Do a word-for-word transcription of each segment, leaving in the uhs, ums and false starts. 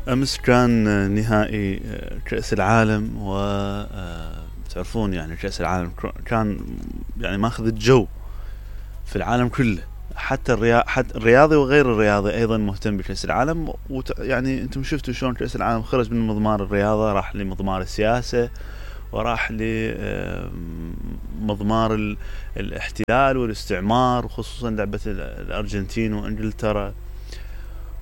أمس كان نهائي كأس العالم، و تعرفون يعني كأس العالم كان يعني ماخذ الجو في العالم كله، حتى الرياضي حتى الرياضي وغير الرياضي أيضا مهتم بكأس العالم. يعني أنتم شفتوا شلون كأس العالم خرج من مضمار الرياضة راح لمضمار السياسة، وراح لمضمار الاحتلال والاستعمار، وخصوصا لعبة الأرجنتين وإنجلترا،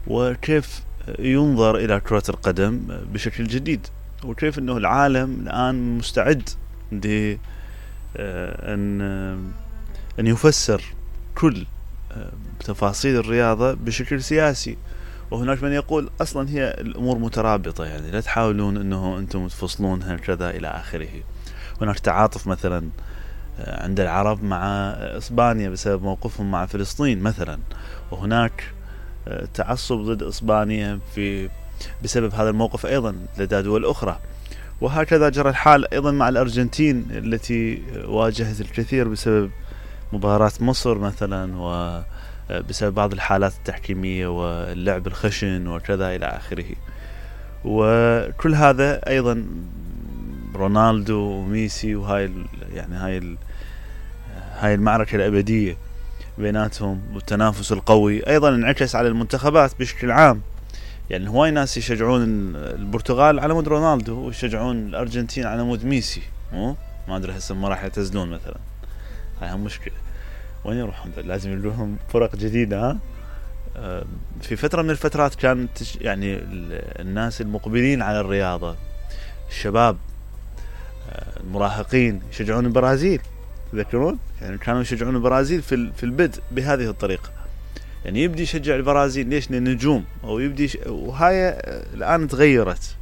وكيف ينظر إلى كرة القدم بشكل جديد، وكيف أنه العالم الآن مستعد لأن أن يفسر كل تفاصيل الرياضة بشكل سياسي. وهناك من يقول أصلا هي الأمور مترابطة، يعني لا تحاولون أنه أنتم تفصلونها كذا إلى آخره. هناك تعاطف مثلا عند العرب مع إسبانيا بسبب موقفهم مع فلسطين مثلا، وهناك تعصب ضد إسبانيا في بسبب هذا الموقف أيضا لدى دول أخرى. وهكذا جرى الحال أيضا مع الأرجنتين التي واجهت الكثير بسبب مباراة مصر مثلا، وبسبب بعض الحالات التحكيمية واللعب الخشن وكذا إلى آخره. وكل هذا أيضا رونالدو وميسي، وهاي يعني هاي هاي المعركة الأبدية بيناتهم والتنافس القوي أيضا انعكس على المنتخبات بشكل عام. يعني هواي ناس يشجعون البرتغال على مود رونالدو، ويشجعون الأرجنتين على مود ميسي. مو ما أدري هسه ما راح يعتزلون مثلا، هاي هم مشكلة. وين يروحون؟ لازم يلوهم فرق جديدة. ها في فترة من الفترات كانت يعني الناس المقبلين على الرياضة، الشباب المراهقين، يشجعون البرازيل. تذكرون يعني كانوا يشجعون البرازيل في في البدء بهذه الطريقة، يعني يبدي يشجع البرازيل ليش؟ للنجوم، او يبدي ش... وهاي الان تغيرت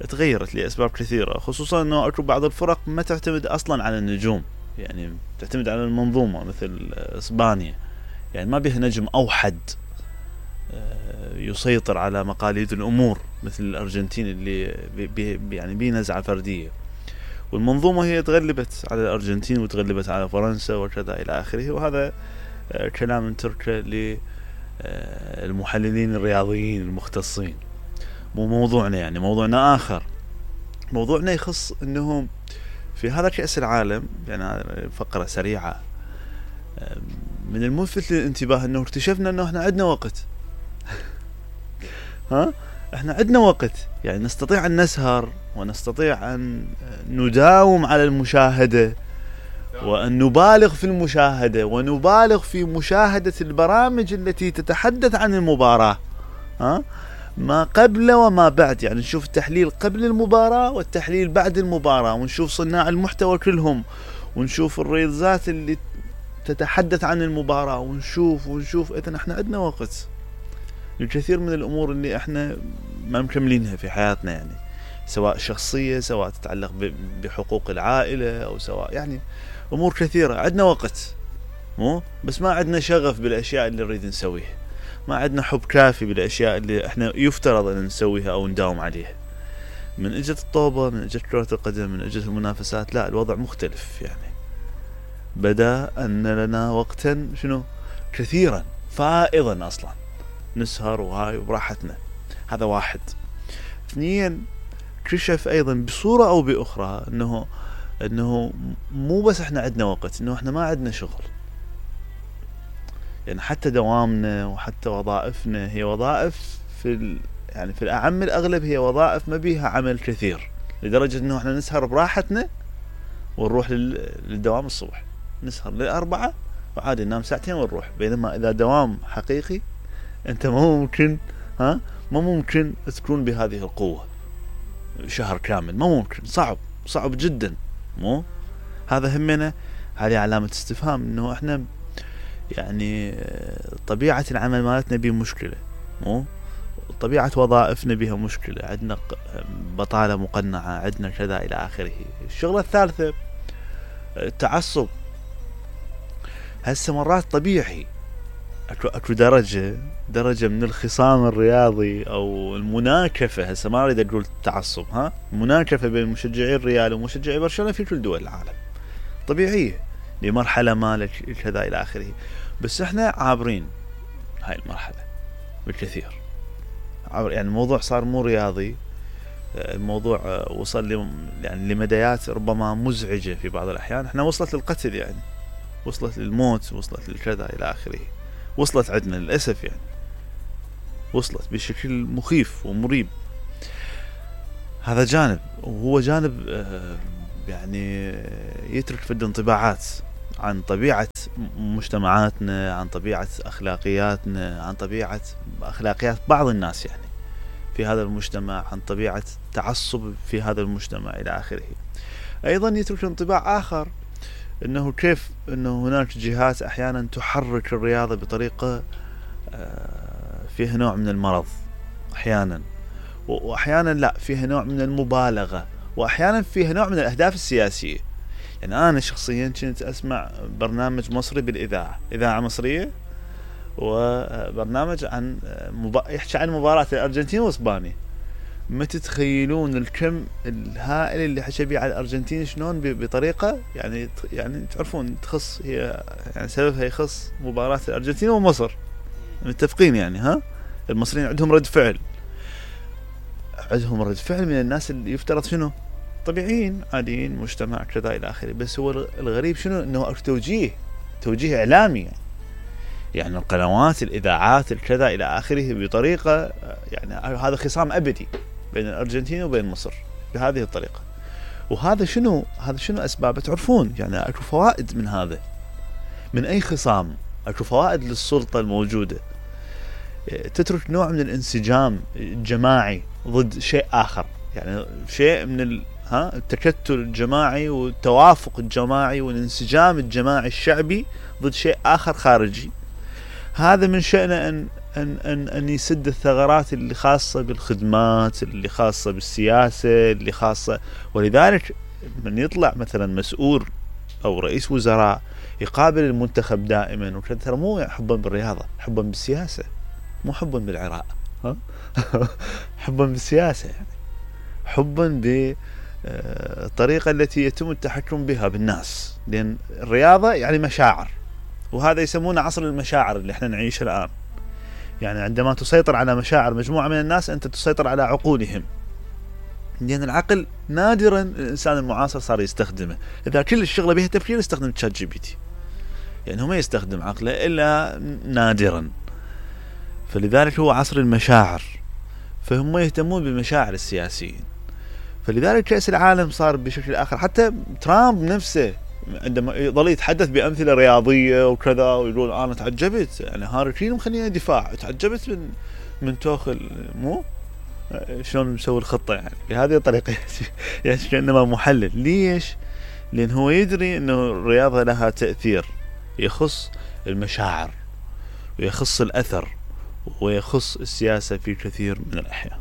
تغيرت لاسباب كثيرة، خصوصا انه اكو بعض الفرق ما تعتمد اصلا على النجوم، يعني تعتمد على المنظومة مثل اسبانيا، يعني ما بها نجم اوحد يسيطر على مقاليد الامور مثل الارجنتين اللي بي بي يعني بي نزعة فردية. والمنظومة هي تغلبت على الأرجنتين وتغلبت على فرنسا وكذا إلى آخره. وهذا كلام نتركه للمحللين الرياضيين المختصين، مو موضوعنا. يعني موضوعنا آخر، موضوعنا يخص أنه في هذا كأس العالم، يعني فقرة سريعة من الملفت للانتباه أنه اكتشفنا أنه احنا عندنا وقت. ها احنا عندنا وقت، يعني نستطيع أن نسهر ونستطيع أن نداوم على المشاهدة، وأن نبالغ في المشاهدة، ونبالغ في مشاهدة البرامج التي تتحدث عن المباراة، ها ما قبل وما بعد. يعني نشوف التحليل قبل المباراة والتحليل بعد المباراة، ونشوف صناع المحتوى كلهم، ونشوف الريلزات اللي تتحدث عن المباراة، ونشوف ونشوف إذن احنا عندنا وقت الكثير من الأمور اللي احنا ما مكملينها في حياتنا، يعني سواء شخصية، سواء تتعلق بحقوق العائلة، أو سواء يعني أمور كثيرة. عندنا وقت، مو بس ما عندنا شغف بالأشياء اللي نريد نسويها، ما عندنا حب كافي بالأشياء اللي احنا يفترض أن نسويها أو نداوم عليها. من اجت الطوبة، من اجت كرة القدم، من اجت المنافسات، لا الوضع مختلف. يعني بدأ أن لنا وقتا شنو كثيرا فائضا أصلا نسهر وهاي براحتنا. هذا واحد. اثنين، كشف أيضا بصورة أو بأخرى أنه أنه مو بس إحنا عندنا وقت، أنه إحنا ما عندنا شغل. يعني حتى دوامنا وحتى وظائفنا هي وظائف في ال... يعني في الأعم الأغلب هي وظائف ما بيها عمل كثير، لدرجة أنه إحنا نسهر براحتنا ونروح لل... للدوام الصبح، نسهر للأربعة وعادي ننام ساعتين ونروح. بينما إذا دوام حقيقي أنت ما ممكن ها ما ممكن تكون بهذه القوة شهر كامل، ما ممكن، صعب صعب جدا. مو هذا همنا، هذه علامة استفهام انه احنا يعني طبيعة العمل مالتنا بيه مشكلة، مو طبيعة وظائفنا بها مشكلة، عندنا بطالة مقنعة، عندنا كذا الى اخره. الشغلة الثالثة التعصب. هسه مرات طبيعي اكو اكو درجة درجة من الخصام الرياضي او المناكفة. هسه ما اريد اقول تعصب، ها مناكفة بين مشجعي الريال ومشجعي برشلونة في كل دول العالم طبيعية لمرحلة ما كذا الى اخره. بس احنا عابرين هاي المرحلة بالكثير، يعني الموضوع صار مو رياضي، الموضوع وصل ل يعني لمديات ربما مزعجة في بعض الأحيان، احنا وصلت للقتل يعني، وصلت للموت، وصلت للكذا إلى آخره، وصلت عندنا للأسف يعني، وصلت بشكل مخيف ومريب. هذا جانب، وهو جانب يعني يترك فد انطباعات عن طبيعة مجتمعاتنا، عن طبيعة أخلاقياتنا، عن طبيعة أخلاقيات بعض الناس يعني في هذا المجتمع، عن طبيعة تعصب في هذا المجتمع إلى آخره. أيضا يترك انطباع آخر أنه كيف أنه هناك جهات أحيانا تحرك الرياضة بطريقة فيها نوع من المرض أحيانا، وأحيانا لا فيها نوع من المبالغة، وأحيانا فيها نوع من الأهداف السياسية. يعني أنا شخصيا كنت أسمع برنامج مصري بالإذاعة، إذاعة مصرية، وبرنامج عن مب... يحكي عن مباراة الأرجنتين وإسبانيا. ما تتخيلون الكم الهائل اللي حكى بيه على الأرجنتين شلون بطريقة يعني يعني تعرفون تخص هي يعني سببها يخص مباراة الأرجنتين ومصر، متفقين يعني. ها المصريين عندهم رد فعل، عندهم رد فعل من الناس اللي يفترض شنو طبيعيين عاديين مجتمع كذا إلى آخره. بس هو الغريب شنو انه توجيه توجيه إعلامي يعني. يعني القنوات الإذاعات الكذا إلى آخره بطريقة يعني هذا خصام أبدي بين الأرجنتين وبين مصر بهذه الطريقة. وهذا شنو هذا شنو أسبابه تعرفون يعني. أكو فوائد من هذا، من أي خصام أكو فوائد للسلطة الموجودة، تترك نوع من الانسجام الجماعي ضد شيء آخر، يعني شيء من ال... ها التكتل الجماعي والتوافق الجماعي والانسجام الجماعي الشعبي ضد شيء آخر خارجي. هذا من شأنه أن أن أن أن يسد الثغرات اللي خاصة بالخدمات، اللي خاصة بالسياسة، اللي خاصة. ولذلك من يطلع مثلا مسؤول أو رئيس وزراء يقابل المنتخب دائما وكذا، ترى مو حبا بالرياضة، حبا بالسياسة، مو حبا بالعراق، ها حبا بالسياسة يعني، حبا بالطريقة التي يتم التحكم بها بالناس. لأن الرياضة يعني مشاعر، وهذا يسمونه عصر المشاعر اللي احنا نعيشه الآن. يعني عندما تسيطر على مشاعر مجموعة من الناس أنت تسيطر على عقولهم، لأن العقل نادرا الإنسان المعاصر صار يستخدمه. إذا كل الشغلة بها تفكير يستخدم تشات جي بي تي، يعني هو ما يستخدم عقله إلا نادرا. فلذلك هو عصر المشاعر، فهم يهتمون بمشاعر السياسيين. فلذلك كأس العالم صار بشكل آخر. حتى ترامب نفسه عندما يظل يتحدث بأمثلة رياضية وكذا ويقول أنا تعجبت يعني هاري كين مخلينا دفاع، تعجبت من من توخل مو شلون مسوي الخطة يعني بهذه الطريقة يعني كأنما محلل. ليش؟ لأن هو يدري أنه الرياضة لها تأثير يخص المشاعر ويخص الأثر ويخص السياسة في كثير من الأحيان.